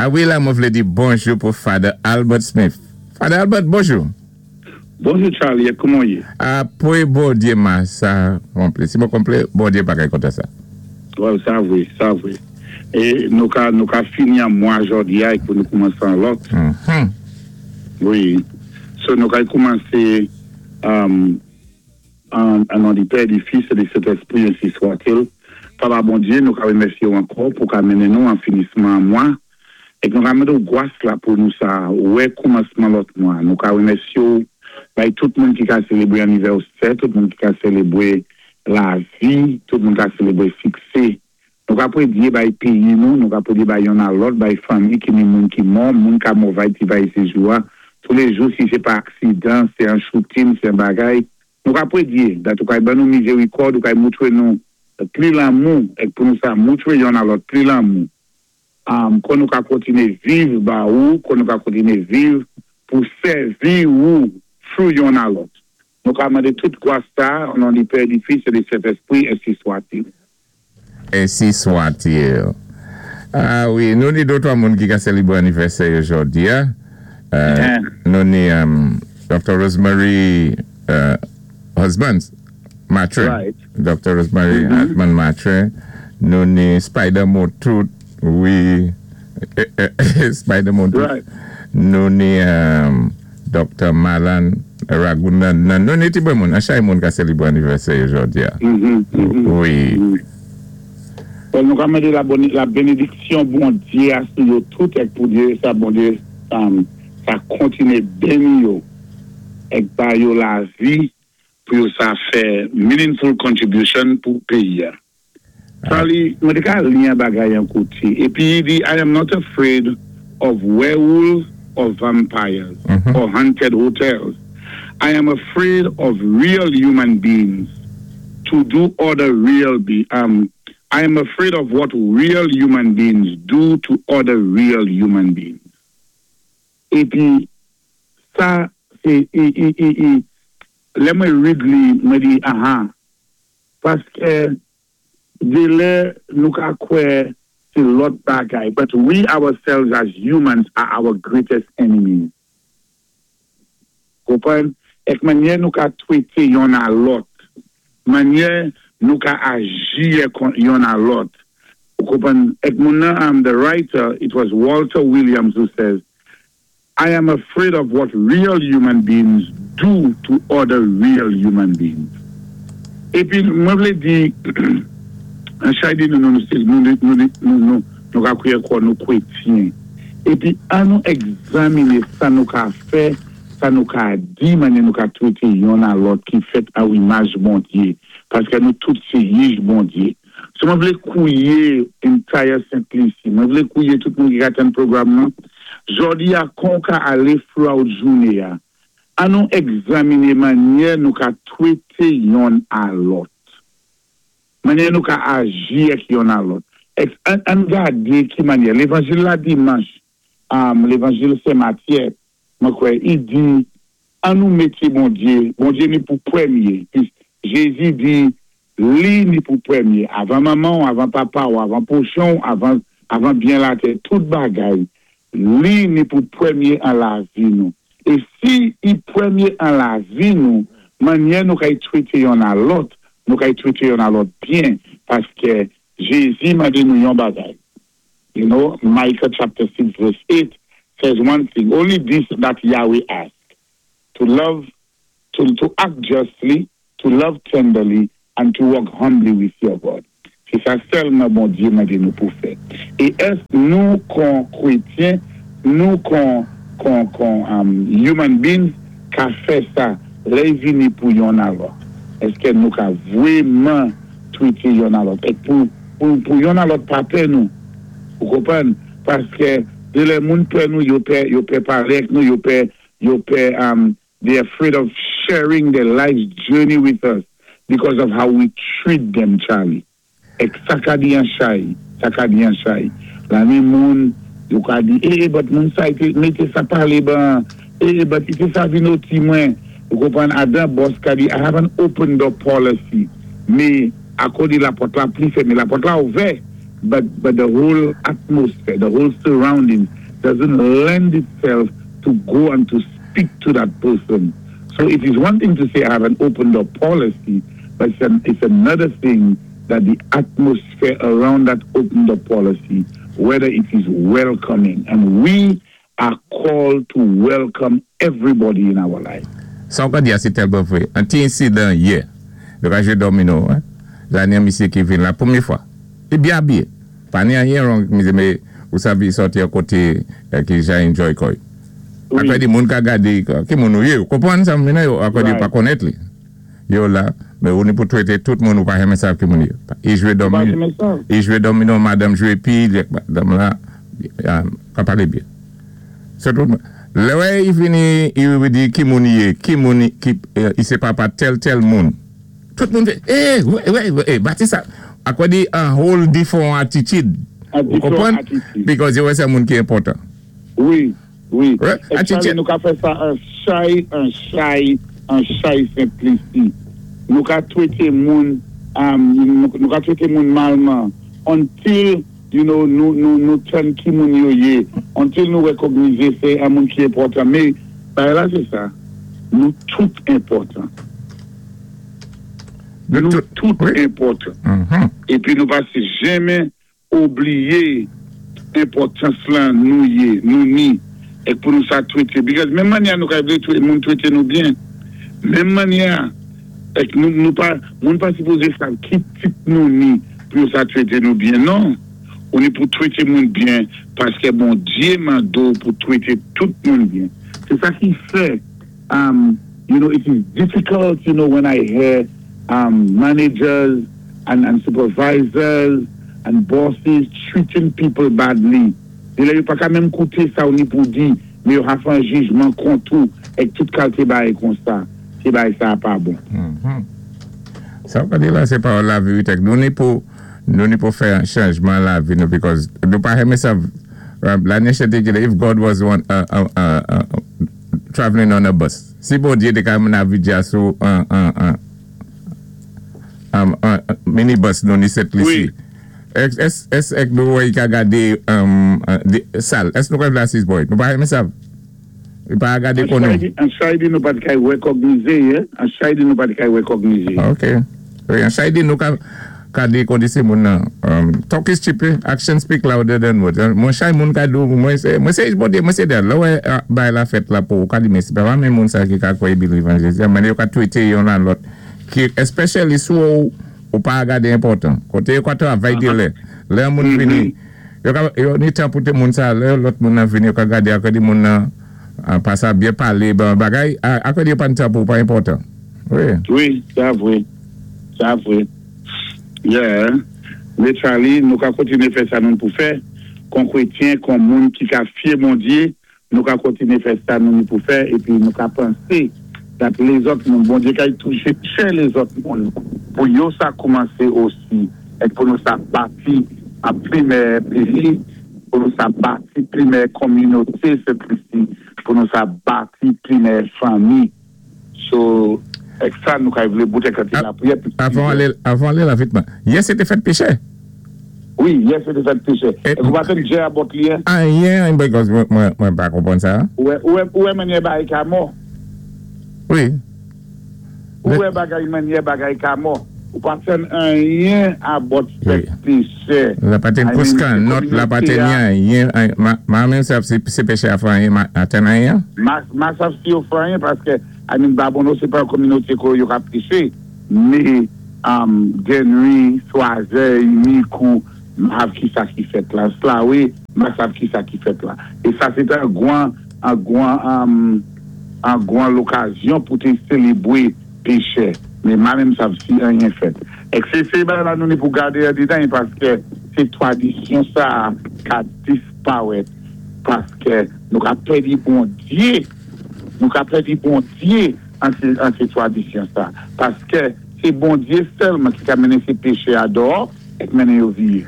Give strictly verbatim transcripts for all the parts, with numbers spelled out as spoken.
A wi, la, mwen vlé di bonjou pou Father Albert Smith. Father Albert, bonjou. Bonjou Charlie, kouman ou yé? Apwé Bondyé ma sa konplé. Si mwen konplé, Bondyé pa kay kontan sa. Well, sa vwé, sa vwé. É nou ka, nou ka fini an mwa jòdi a é pou nou koumansé an lòt. Mm-hmm. Wi. So nou kay koumansé um, an, an non di Pè, di Fis é di Sentèspwi, ensi swat-il. Papa Bondyé, nou ka wémèsyé ou ankò pou ka mennen nou an finisman mwa. É nou ka mandé ou gwas la pou nou sa wè koumansman lòt mwa. Nou ka wémèsyé ou bay tout moun ki ka sélébwé anivèsè, tout moun ki ka sélébwé lavi, tout moun ka sélébwé siksé. Nou ka pwédyé bay péyi nou, nou ka pwédyé bay yonn a lòt, bay fanmi ki ni moun ki mò, moun ka movay ti bay sé jou a. Tous les jours, si sé pa aksidan, sé an shooting, sé an bagay. Nou ka pwédyé, dat ou kay ban nou mizérikòd, ou kay moutwé nou pli lanmou, é pou nou sa moutwé yonn a lòt pli lanmou. Um, kon nou ka kontiné viv ba ou, kon nou ka kontiné viv pou sèvi ou through yonn a lòt. Nou ka mandé tout gwas sa, an non di Pè, di Fis é di Sentèspwi, ensi swat-il. Ensi swat-il. A wi, nou ni dotwa moun ki ka sélébwé anivèsè jòdi a. Euh, nou ni um, Doctor Rosemary uh, Husband, Matre. Right. Doctor Rosemary Mhm. Husband Matre. Nou ni Spider Motout, wi. Spider Motout. Right. Nou ni um, Doctor Malan Ragunan. Nou ni ti bon moun, an chay moun ka sélébwé anivèsè jòdi a. Mhm, mhm. Wi. Mhm. Well, nou ka mandé la, boni, la bénédiksyon Bondyé a sou yo tout é pou Dye, sa Bondyé um, sa kontiné béni yo é ba yo lavi pou yo sa fè meaningful contribution pou péyi a. Charlie, mwen té ka li an bagay an kouti. Épi i di, "I am not afraid of werewolves or vampires Mhm. or haunted hotels. I am afraid of real human beings to do other real be um I am afraid of what real human beings do to other real human beings." Épi sa sé é é é é lè mwen read li, mwen di aha, paské dé lè nou ka kwè sé lòt bagay, but we ourselves as humans are our greatest enemies. Konpwann? Ek mannyè nou ka twété yonn a lòt, mannyè nou ka aji kont yonn a lòt. Ou konpwann? Ek moun nan, um, the writer, it was Walter Williams who says, "I am afraid of what real human beings do to other real human beings." Épi, mwen vlé di, an chay di nou nou nou nou nou nou nou nou ka kwè kwa nou kwétyen. Épi, an nou egzaminé sa nou ka fè, sa nou ka di, mannyè nou ka twété yonn a lòt ki fèt a imaj Bondyé. Paské nou tout sé jij Bondyé. So mwen vlé kouwiyé entire Saint Lucie, mwen vlé kouwiyé tout moun ki ka tann pwogram nan. Jòdi a kon ka alé throughout jouné a. An nou egzaminé mannyè nou ka twété yonn a lòt. Mannyè nou ka aji ek yonn a lòt. Ek, an, an gadé ki mannyè. Lévanjil la dimanch, um, lévanjil Sen Matyé, mwen kwè, i di, an nou mété Bondyé, Bondyé ni pou pwémyé. Pi Jézi di, li ni pou pwémyé. Avan manman, avan papa, ou avan pwochen, avan, avan byen latè, tout bagay, li ni pou pwémyé an lavi nou. É si i pwémyé an lavi nou, mannyè nou kay twété yonn a lòt, nou kay twété yonn a lòt byen, paské Jézi mandé nou yon bagay. You know, Micah chapter six verse eight says one thing, only this that Yahweh asks, to love, to, to act justly, to love tenderly, and to walk humbly with your God. Sé sa sèlman Bondyé mandé nou pou fè. É ès nou kon kwétyen, nou kon, kon, kon um, human beings ka fè sa, lè i vini pou yonn a lòt? Èské nou ka vwéman twété yonn a lòt? É pou, pou, pou yonn a lòt pa pè nou. Ou konpwann? Paské dé lè moun pè nou, yo pè, yo pè palé ek nou, yo pè, yo pè, um, they afraid of sharing their life's journey with us because of how we treat them, Charlie. Ek sa ka di an chay, sa ka di an chay. La ni moun, yo ka di, eh, eh, but moun sa ité, mété sa palé ban, eh, eh, but ité sa vin oti mwen. Ou konpwann, adan boss ka di, "I have an open door policy." Mé, akò di lapòt la pli fèmé, lapòt la ouvè. but but the whole atmosphere, the whole surrounding doesn't lend itself to go and to speak to that person. So it is one thing to say I have an open door policy, but it's, an, it's another thing that the atmosphere around that open door policy, whether it is welcoming. And we are called to welcome everybody in our life. Sa ou ka di a sé tèlman vwé. An ti ensidan yè, yo ka jwé domino, la ni an misyé ki vin la pwémyé fwa. Li byen abiyé. Pa ni anyen wrong misyé, mé ou sav i sòti an koté ki ja enjoy kò'y. Apwé di moun ka gadé, ki moun ou yé, ou konpwann sa mwen yo, apwé di pa konnèt li. Yo la, mé ou ni pou twété tout moun ou pa renmen sav ki moun yo. I jwé domino, i jwé domino, madanm jwé pi, madanm la, ka palé byen. Se tout moun. Lè wè i vini, i di ki moun yé, ki moun, i sé papa tèl tèl moun. Tout moun fè, eh, wè, wè, eh, bati sa. Apwé di an whole different attitude. Ou konpwann? Because yo wè sé moun ki enpòtan. Wi, wi. É Charlie nou ka fè sa an chay, an chay, an chay Sent Lisi. Nou ka twété moun, nou ka twété moun malman, until, you know, nou tann ki moun yo yé, until nou rekògnizé sé an moun ki enpòtan. Mé, bagay la sé sa, nou tout enpòtan. Nou tout enpòtan. Épi nou pa si janmen oubliyé enpòtans lan nou yé, nou ni, é pou nou sa twété. Because menm mannyè nou ka vlé moun twété nou byen, menm mannyè, ek nou pa, moun pa sipozé sa ki tit nou ni pou nou sa twété nou byen, non. Ou ni pou twété moun byen, paské Bondyé mandé ou pou twété tout moun byen. Sé sa ki fè, um, you know, it is difficult, you know, when I hear um, managers and, and supervisors and bosses treating people badly. Dé lè yo pa ka menm kouté sa ou ni pou di, mé yo ka fè an jijman kont ou, ek tout kalté bagay kon sa, sé bagay sa pa bon. Sa ou ka di la, sé pa la vérité. Nou ni pou, nou ni pou fè an chanjman la vi nou, because nou pa renmen sa, la nechete ki if God was one, uh, uh, uh, traveling on a bus. Si Bondyé té ka navidja sou an, an, an, an, minibus nou ni Sent Lisi. Es, es ek nou wè yi ka gadé sal, es nou kwa vla sis boy, nou pa renmen sa. Nou pa gade kon nou. An chay di nou pa di kay rekògnize, an chay di nou pa di kay rekògnize. Ok. An chay di nou ka gade kondise moun nan. Talk is cheap, action speak louder than words. Mwen chay moun ka do, mwen se, mwen se, mwen se der, lè wè bay la fèt la pou, ka di mè si, pa mè moun sa ki ka kwè believe an Jezi, mwen yo ka twété yon an lòt, ki especially sou ou pa gade enpòtan. Koté yo ka travay di lè, lè moun vini, yo ni tan pou te moun sa, lè lòt moun nan vini, yo ka gade akè di moun nan, pa sa byen palé, bagay, akè di yo pa ni tan pou pa enpòtan. Wi. Wi, sa vwé. Sa vwé. Yeah. Mé Charlie, nou ka kontiné fè sa nou pou fè, kon kwétyen, kon moun ki ka fyé Bondyé, nou ka kontiné fè sa nou pou fè, épi nou ka pansé dat lézòt moun, Bondyé kay touché chè lézòt moun, pou yo sa koumansé osi, ek pou nou sa bati a pli mè péyi, pou nou sa bati pli mè kominoté Sent Lisi, pou nou sa bati pli mè fanmi. So, ek sa nou kay vlé boutè kati la priyè. Avan alé la vitman, yè sé té fèt péchè? Wi, yè sé té fèt péchè. Ek ou pa ten jè a bot li? Anyen, mwen pa konpwann sa. Ou wè mannyè bagay ka mò? Wi. Ou wè bagay mannyè bagay ka mò? Ou pa ten anyen a bot fèt péchè? La pa ten kouskan, not la pa ten anyen. Ma men sa se péchè a fè anyen, a ten anyen? Ma sa si yo fè anyen, paske I mean, Babonneau se pa kominoté ko yo ka péché, mé Dennery, Choiseul, Micoud, ma ki sa ki fèt la. Slawe, ma sav ki sa ki fèt la. É sa sé an gwan, an gwan, an gwan lokazyon pou té sélébwé péchè. Mé ma menm sav si anyen fèt. Ek sé sé ba la nou ni pou gadé an didan, paské sé twadisyon sa ka dispawèt, paské nou ka pèdi Bondyé, nou ka pèdi Bondyé an sé twadisyon sa. Paské sé Bondyé sèlman ki ka mennen sé péchè a dò, ek mennen yo vié.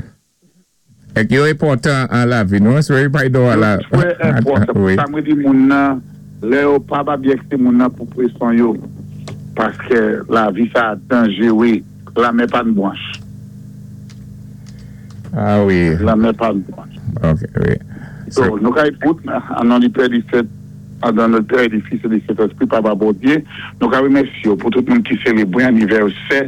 Ek yo enpòtan an la vi, nou? Sou yo pa do a la... Yo twè enpòtan. Sa mwen di moun nan, lè yo pa ba byek se moun nan pou preson yo, paské la vi sa danjéwé, la mè pa n bwanch. Ah wi. Lanmè pa Ok, wi. So, nou kay bout, an non di Pè, di Sent, an non di Pè, di Fis, di Sentespri, Papa Bondyé, nou ka wimèsye yo pou tout moun ki sélébwé anivèsè,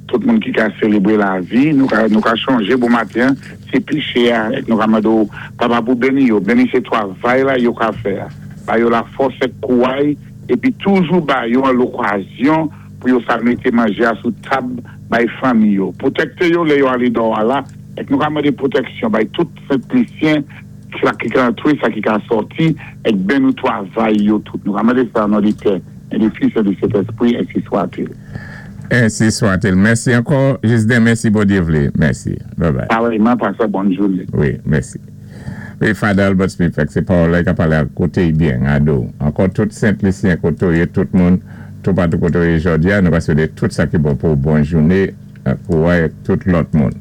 tout moun ki ka sélébwé lavi, nou ka, nou ka chonjé bon maten, sé péché a, èk nou ka mandé ou, Papa pou béni yo, béni sé twavay la yo ka fè a. Ba yo lafòs èk kouway, épi toujou ba yo an lokazyon pou yo sa mété manjé a sou tab bay fanmi yo. Pwotèkté yo lè yo alé dò a la, èk nou ka mandé pwotèksyon bay tout Sent Lisyen sa ki ka antwé, sa ki ka sòti, èk ben nou twavay yo tout. Nou ka mandé sa an non di Pè, et di Fis, et di Sentespri, ensi swa-t-il. Ensi swa-t-il. Mèsi ankò, Jisden, mèsi Bondyé vlé. Mèsi. Bye bye. Parèyman, pasé bòn jouné. Wi, mèsi. Wi, Father Albert Smith, sé Paul ki ap palé a koté byen, ado. Ankò tout Sent Lisyen koté ou yé, tout moun, tout patou koté ou yé jòdi a, nou va swété tout sa ki bon pou bòn jouné, pou wè tout lòt moun.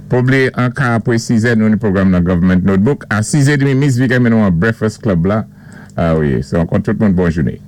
Pa blié, an ka apwé sizè, nou ni pwogram nan Government Notebook. A sizè demi, Miss Vika mennen nou an Breakfast Club la. Ah wi, sé ankò tout moun bòn jouné.